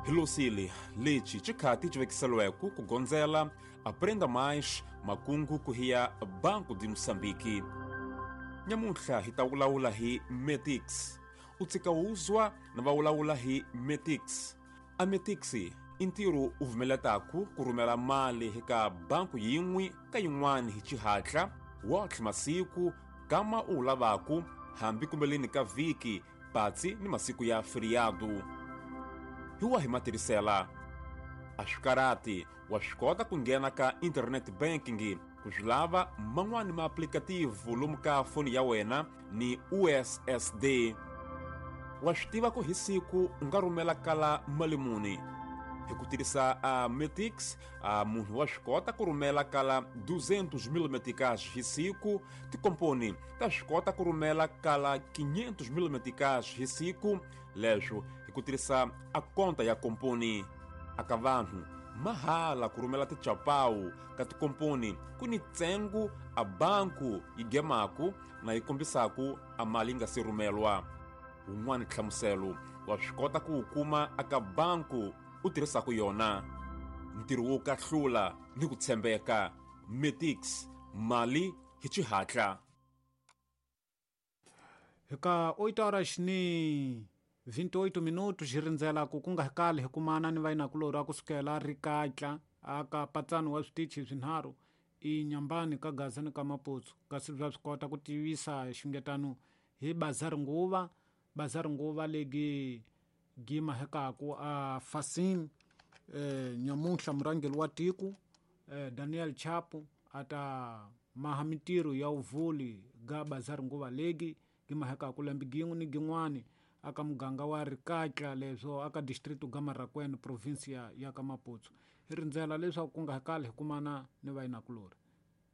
Hi losile lexi xikhati xi vekiseliweke ku gondzela Aprenda Mais makungu ku hiya Banco de Moçambique. Nyamuntlha hi ta vulavula hi Metix. U tshika wuzwa na va vulavula hi Metix. A Metix i ntirho u vumeletaku ku rhumela mali eka banku yin'we ka yin'wana hi xihatla wotlhe masiku kama u wu lavaku hambi kumbeleni ka vhiki patsi ni masiku ya feriado. Hi wahi matirhisela? A swi karhati, wa swi kota ku nghena ka internet banking ku swi lava man'wani maaplikativu lomu ka foni ya wena ni USSD. Wa swi tiva ku hi siku u nga rhumela kala mali muni? Hi ku tirhisa a Metix, a munhu wa swi kota ku rhumela kala 200 mil meticais hi siku. Tikomponi ta swi kota ku rhumela kala 500 mil meticais hi siku, leswo hi ku tirhisa a konta ya komponi. Aka vanhu mahala ku rhumela tichapawu ka tikomponi ku ni ntsengo a banku yi gemaku na yi kombisaku a mali yi nga se rhumelwa. Wun'wana nhlamuselo wa swi kota ku wu kuma aka banku u tirhisaku yona. Ntirho wo kahlula ni ku tshembeka. Metix, mali hi xihatla. Hi ka 8 horas ni 28 minutos hi rindzela ku ku nga kali hi kumana ni vayinakulorhi a kusukela Rikatla aka patsano wa switichi swinharhu i Nyambani ka Gaza ni ka Maputsu, kasi bya swi kota ku tivisa xungetano hi bazari nguva bazari nguva legi gima hekaku a Fasim. Nyamunhla murhangeri wa tiko Daniel Chapo a ta maha mintirho ya vuvuli ga bazari nguva legi gima hekaku lembe gin'we ni gin'wani aka muganga wa Rikatla, leswo aka district ga Marracuene, provinsia ya ka Maputsu. Hi rindzela leswaku ku nga kali hi kumana ni vayinakulorhi.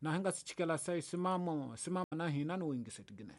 Na hi nga si chikela sai simamo simama na hina ni wuyingiseti ginene.